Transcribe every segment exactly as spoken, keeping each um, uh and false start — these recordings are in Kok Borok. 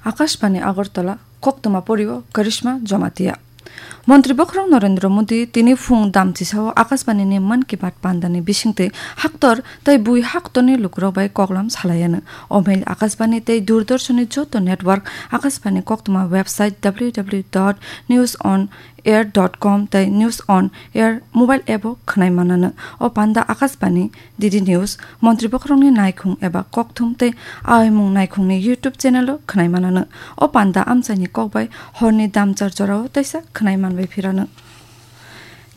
Akashbani Agartala, koktwma porio Karishma Jamatia. Montri Bokhorok Narendra Modi tini phung damchisao Akashbani ni Mann Ki Baat pandani bisingtwi haktor tei bui haktorni lukurok bai koklam salaiano. O mail Akashbani tei Doordarshan ni joto network, Akashbani koktwma website w w w dot news on air dot com tei News on Air mobile app o khwnai manano. O panda Akashbani, D D News, Montri Bokhorokni naikhung eba kokthum tei aimung naikhungni YouTube channel o khwnai manano. O panda amchaini kokbai horni damchar jorao teisa khwnai manbai phirano.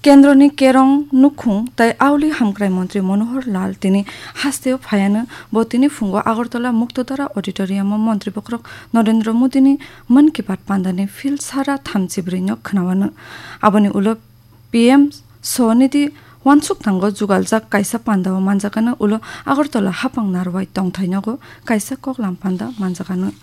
Kendroni Kerong Nukhung tei Auli Hamkrai Montri Manohar Lal tini hasteo phaiano. Bo tini phungo Agartala Muktodara Auditorium o Montri Bokhorok Narendra Modi ni Mann Ki Baat pandani phil sara thamchi brwi no khwnawano. Aboni ulo P M Swanidhi wansuk thango jugaljak kaisa panda o manjakano, ulo Agartala hapang narwai tongthai nogo kaisa koklam panda manjakano.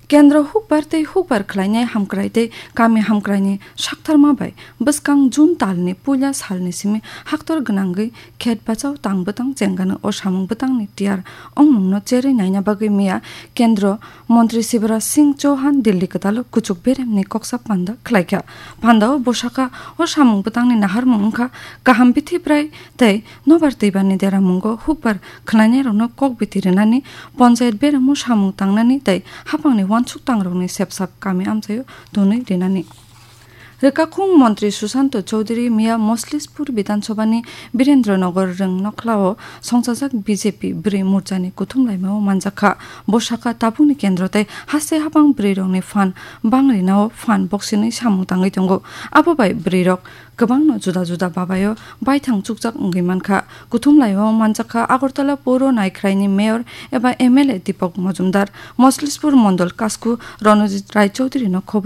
Kendro hukbar tei hukbar khlainai hamkrai tei kami hamkraini saktharma bai bwskang June talni puila salni simi haktor gwnangwi khet bachao tang bwtang chengano. O samung bwtangni tiyar ongmungno cherwi naina bagwi miya Kendro Montri Shivraj Singh Chauhan Delhi kwtalo kuchuk beremni koksa panda khlaikha. Pandao bwsakha o samung bwtangni naharmung wngkha kaham bithi bwrai tei nobar twibarni deramungo hukbar khwlainairokno kok biti rwnani, ponchayat beremo samung tangnani tei hapangni wansuk tangrokni sepsap kami amchaio tonwi rinani. Rwkakhung Montri Sushanto Chowdhury miya Moslispur Bidhan Sabhani Birendra Nagar Rwng Nokhlao songchajak B J P bwrwi morchani kuthum laimao manjakha. Bo sakha tabukni kendro tei haste hapang bwrwirokni phan bangrinao phan boksinwi samung tangwi tongo. Abo bai bwrwirok kwbangno juda juda babaio baithang chukjak wngwi mankha. Kuthum laimao manjakha Agartala Puro Naikhraini Mayor eba M L A Deepak Majumdar, Moslispur Mondol Kasku Ronojit Rai Chowdhury no khobwi